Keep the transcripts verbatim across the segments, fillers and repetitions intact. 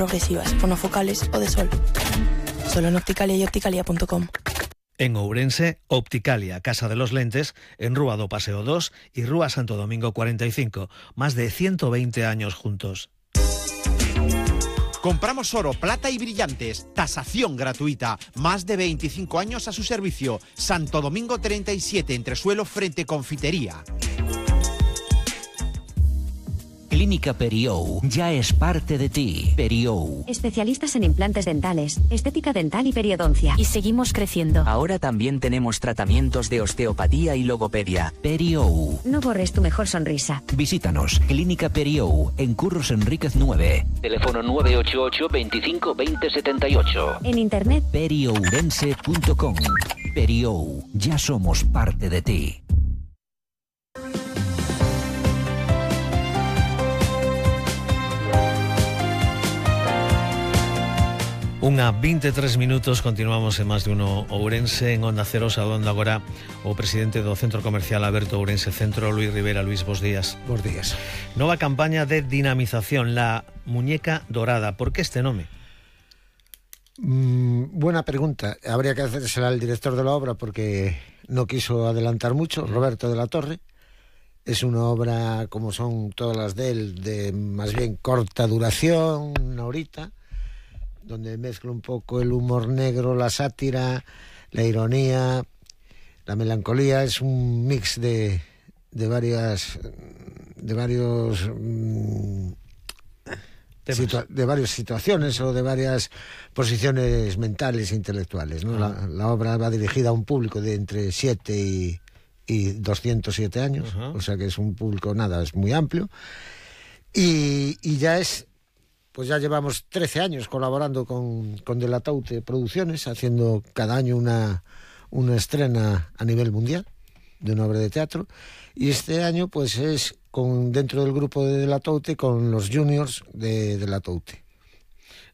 progresivas, monofocales o de sol. Solo en Opticalia y opticalia punto com. En Ourense, Opticalia, Casa de los Lentes, en Rúa do Paseo dos y Rúa Santo Domingo cuarenta y cinco. Más de ciento veinte años juntos. Compramos oro, plata y brillantes. Tasación gratuita. Más de veinticinco años a su servicio. Santo Domingo treinta y siete, entresuelo frente Confitería. Clínica Periou ya es parte de ti. Periou. Especialistas en implantes dentales, estética dental y periodoncia. Y seguimos creciendo. Ahora también tenemos tratamientos de osteopatía y logopedia. Periou. No borres tu mejor sonrisa. Visítanos. Clínica Periou, en Curros Enríquez nueve. Teléfono nueve ocho ocho, veinticinco, veinte, setenta y ocho. En internet periourense punto com. Periou. Ya somos parte de ti. Unha veintitrés minutos, continuamos en Más de Uno Ourense, en Onda Cero, saudando agora o presidente do Centro Comercial Aberto Ourense Centro, Luis Rivera. Luis, bos días. Bos días. Nova campaña de dinamización, la muñeca dorada. ¿Por qué este nome? Mm, buena pregunta. Habría que hacérsela al director de la obra porque no quiso adelantar mucho, Roberto de la Torre. Es una obra, como son todas las de él, de más bien corta duración, una horita, donde mezcla un poco el humor negro, la sátira, la ironía, la melancolía. Es un mix de, de varias de varios mm, situa- de varias situaciones o de varias posiciones mentales e intelectuales, ¿no? La, la obra va dirigida a un público de entre siete y, y doscientos siete años, uh-huh. O sea que es un público, nada, es muy amplio, y, y ya es pues ya llevamos trece años colaborando con, con De la Taute Producciones, haciendo cada año una, una estrena a nivel mundial de una obra de teatro, y este año pues es con dentro del grupo de De la Taute con los juniors de De la Taute.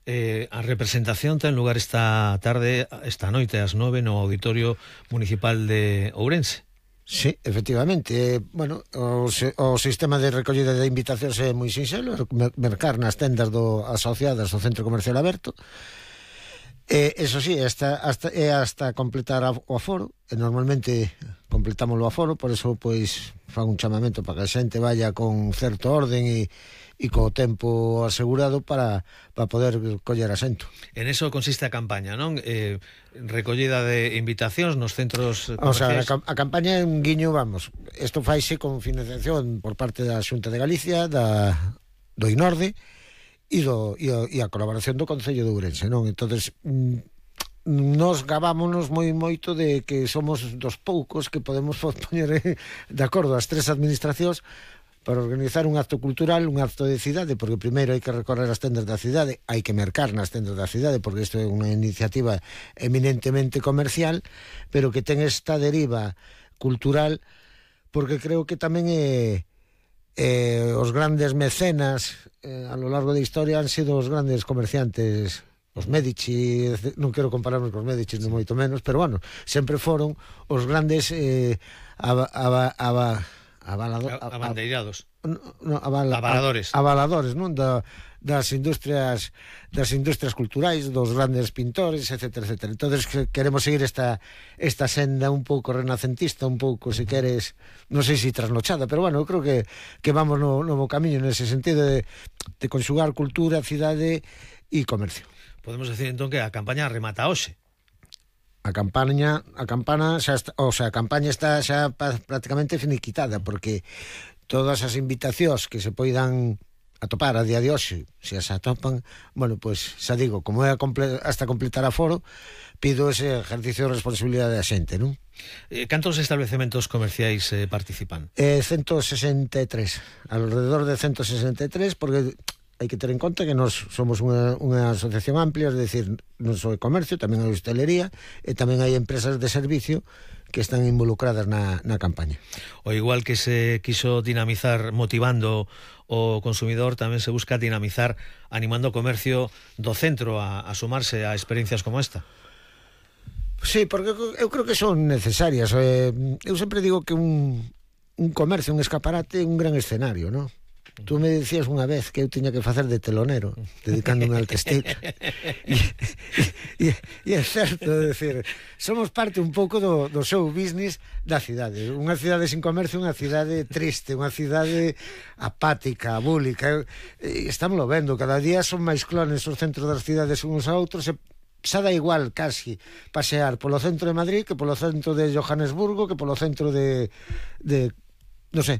Eh, a representación ten lugar esta tarde, esta noite ás nove no Auditorio Municipal de Ourense. Sí, efectivamente. Bueno, o, se, o sistema de recollida de invitacións é moi sinxelo, mercar nas tendas do, asociadas ao Centro Comercial Aberto. E, eso sí, hasta, hasta, é hasta completar o aforo, e normalmente completamos o aforo, por eso pois fan un chamamento para que a xente vaya con certo orden e e co tempo asegurado para, para poder coller asento. En eso consiste a campaña, non? Eh, recollida de invitacións nos centros O comerciais. sea, a, a campaña é un guiño, vamos, isto faise con financiación por parte da Xunta de Galicia, da, do INORDE e, do, e, a, e a colaboración do Concello de Ourense, non? Entonces, nos gavámonos moi moito de que somos dos poucos que podemos poñer de acordo as tres administracións para organizar un acto cultural, un acto de cidade, porque primeiro hai que recorrer as tendas da cidade, hai que mercar nas tendas da cidade, porque isto é unha iniciativa eminentemente comercial, pero que ten esta deriva cultural, porque creo que tamén é, é os grandes mecenas eh, a lo largo da historia han sido os grandes comerciantes, os Medici, non quero compararnos cos Medici, non moito menos, pero bueno, sempre foron os grandes eh, aba, aba, aba, Avalado, abandeirados. No, no, avala, avaladores. Avaladores, non? Da, das industrias das industrias culturais, dos grandes pintores, etcétera, etcétera. Entonces que, queremos seguir esta esta senda un pouco renacentista, un pouco, se queres, non sei se si trasnochada, pero bueno, eu creo que, que vamos no novo camiño nese sentido de, de conxugar cultura, cidade e comercio. Podemos decir entón que a campaña remata hoxe. A campaña, a campana xa está, o sea, a campaña está xa prácticamente finiquitada, porque todas as invitacións que se poidan atopar a día de hoxe, se as atopan, bueno, pois xa digo, como é a comple- hasta completar a foro, pido ese ejercicio de responsabilidade da xente, non? Eh, cantos establecementos comerciais eh, participan? Eh, ciento sesenta e tres, alrededor de ciento sesenta e tres, porque hai que ter en conta que nós somos unha, unha asociación amplia, es decir, non só de comercio, tamén hai hostelería e tamén hai empresas de servicio que están involucradas na, na campaña. O igual que se quiso dinamizar motivando o consumidor, tamén se busca dinamizar animando o comercio do centro a, a sumarse a experiencias como esta. Sí, porque eu creo que son necesarias. Eu sempre digo que un, un comercio, un escaparate é un gran escenario, non? Tú me dicías unha vez que eu tiña que facer de telonero, dedicándome al textil. E, e, e é certo, é dicir, somos parte un pouco do, do show business da cidade. Unha cidade sin comercio, unha cidade triste, unha cidade apática, abúlica. Estamos lo vendo, cada día son máis clones os centros das cidades uns a outros, e xa dá igual casi pasear polo centro de Madrid que polo centro de Johannesburgo, que polo centro de, de non sei,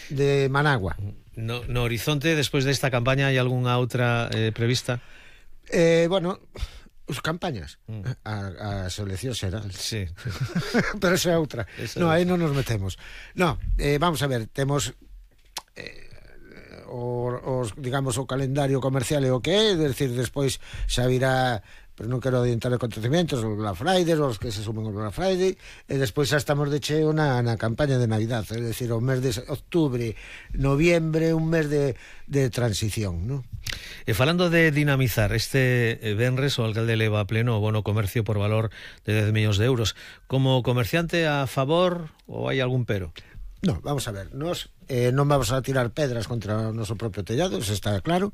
de Managua. No, no horizonte, despois desta campaña, hai algunha outra eh, prevista? Eh, bueno, os campañas mm. a, a selección xeral. Sí, sí. Pero esa é outra. Esa no, aí non nos metemos. No, eh, vamos a ver, temos eh, os, digamos, o calendario comercial e o que é, é dicir, despois xa virá, pero non quero adiantar acontecementos, os Black Friday, os que se sumen ao Black Friday, e despois xa estamos de cheo na, na campaña de Navidad, é dicir, o mes de octubre, noviembre, un mes de, de transición, non? E falando de dinamizar, este venres o alcalde leva a pleno o bono comercio por valor de dez millóns de euros. Como comerciante, a favor ou hai algún pero? No, vamos a ver, nos eh, non vamos a tirar pedras contra o noso propio tellado, eso está claro.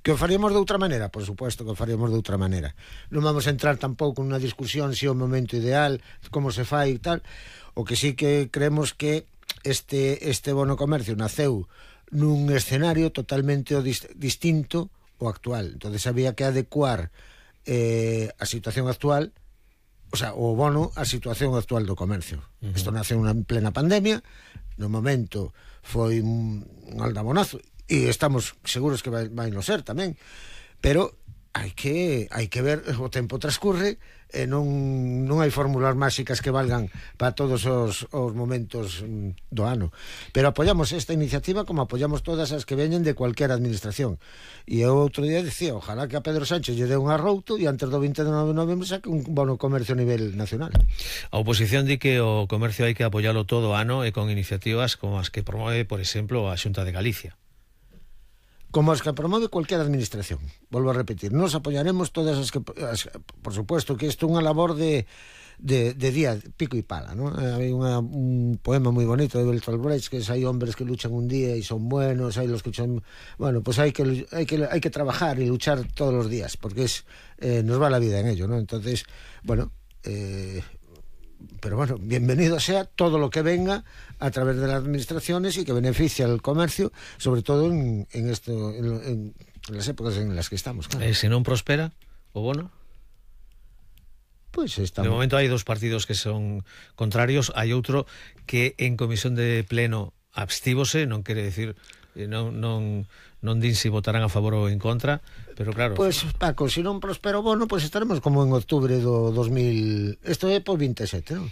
Que o faríamos de outra maneira, por suposto que o faríamos de outra maneira. Non vamos a entrar tampouco nunha discusión se é o momento ideal, como se fai e tal. O que sí que creemos que este, este bono comercio naceu nun escenario totalmente o dist, distinto ao actual. Entonces había que adecuar eh, a situación actual, o sea, o bono a situación actual do comercio. Uh-huh. Isto nace unha plena pandemia, no momento foi un, un aldabonazo, e estamos seguros que vai, vai no ser tamén, pero hai que hai que ver, o tempo transcurre e non, non hai fórmulas máxicas que valgan para todos os, os momentos do ano, pero apoyamos esta iniciativa como apoyamos todas as que veñen de cualquier administración. E eu outro día dicía, ojalá que a Pedro Sánchez lle dé un arrouto e antes do vinte e nove de novembro saque un bono comercio a nivel nacional. A oposición di que o comercio hai que apoialo todo o ano e con iniciativas como as que promove, por exemplo, a Xunta de Galicia. Como as que promove cualquier administración. Volvo a repetir, nos apoyaremos todas as que, as, por supuesto que isto é unha labor de, de, de día, pico e pala, ¿no? Hai unha, un poema moi bonito de Bertolt Brecht, que hai hombres que luchan un día e son buenos, hai los que son, bueno, pues hai que hai que hai que trabajar e luchar todos os días, porque es eh, nos va la vida en ello, ¿no? Entonces, bueno, eh pero bueno, bienvenido sea todo lo que venga a través de las administraciones y que beneficie al comercio, sobre todo en, en esto, en, en, en las épocas en las que estamos, claro. E se non prospera o bono? Pues estamos... De momento hai dos partidos que son contrarios, hai outro que en comisión de pleno abstívose, non quere decir, non, non, non din si votarán a favor ou en contra, pero claro... Pois, pues, Paco, se non prospera o bono, pois pues estaremos como en octubre do dos mil... Isto é por vinte e sete, non?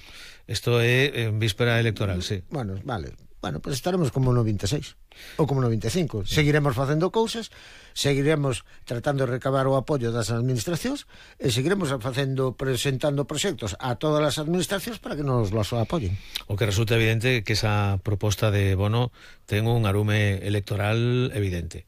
Isto é en víspera electoral, sí. Bueno, vale. Bueno, pois pues estaremos como no vinte e seis ou como no vinte e cinco. Sí. Seguiremos facendo cousas, seguiremos tratando de recabar o apoio das administracións e seguiremos facendo, presentando proxectos a todas as administracións para que nos los apoyen. O que resulta evidente que esa proposta de bono ten un arume electoral evidente.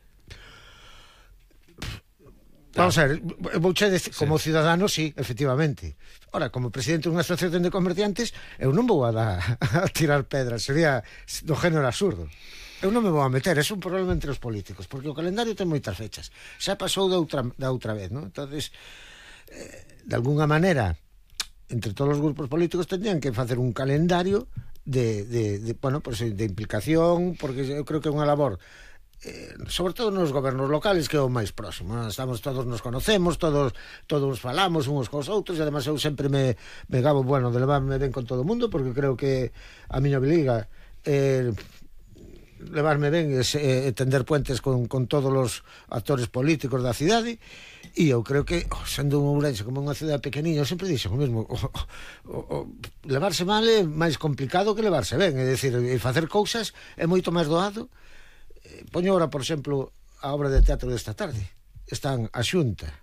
Vamos a ver, vouche decir, como sí. Ciudadano, sí, efectivamente. Ora, como presidente dunha asociación de comerciantes, eu non vou a, dar, a tirar pedras, sería do género absurdo. Eu non me vou a meter, é un problema entre os políticos, porque o calendario ten moitas fechas. Xa pasou da outra, da outra vez, non? Entonces, eh, de alguna maneira, entre todos os grupos políticos tendrían que facer un calendario de, de, de bueno, pues, de implicación, porque eu creo que é unha labor Eh, sobre todo nos gobernos locales, que é o máis próximo, ¿no? Estamos, todos nos conocemos, todos todos falamos uns cos outros, e además eu sempre me, me gabo, bueno, de levarme ben con todo o mundo, porque creo que a miña obliga eh, levarme ben e eh, tender puentes con, con todos os actores políticos da cidade. E eu creo que, oh, sendo un Ourense como unha cidade pequeniña, eu sempre dixo o mesmo, oh, oh, oh, levarse mal é máis complicado que levarse ben, é dicir, e facer cousas é moito máis doado. Poño ahora, por exemplo, a obra de teatro desta tarde. Están a Xunta,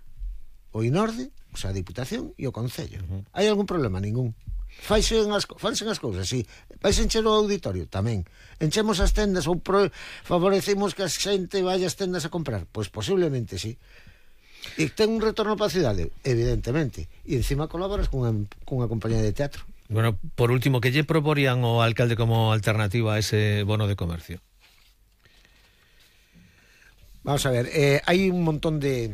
o Inorde, o sea, a Diputación e o Concello. Uh-huh. Hai algún problema? Ningún. Faise as, faise as cousas, sí. Vais encher o auditorio? Tamén. Enchemos as tendas ou pro, favorecemos que a xente vaya as tendas a comprar? Pois posiblemente sí. E ten un retorno para a cidade? Evidentemente. E encima colaboras cunha, cunha compañía de teatro. Bueno, por último, que lle proporían o alcalde como alternativa a ese bono de comercio? Vamos a ver, eh, hay un montón de,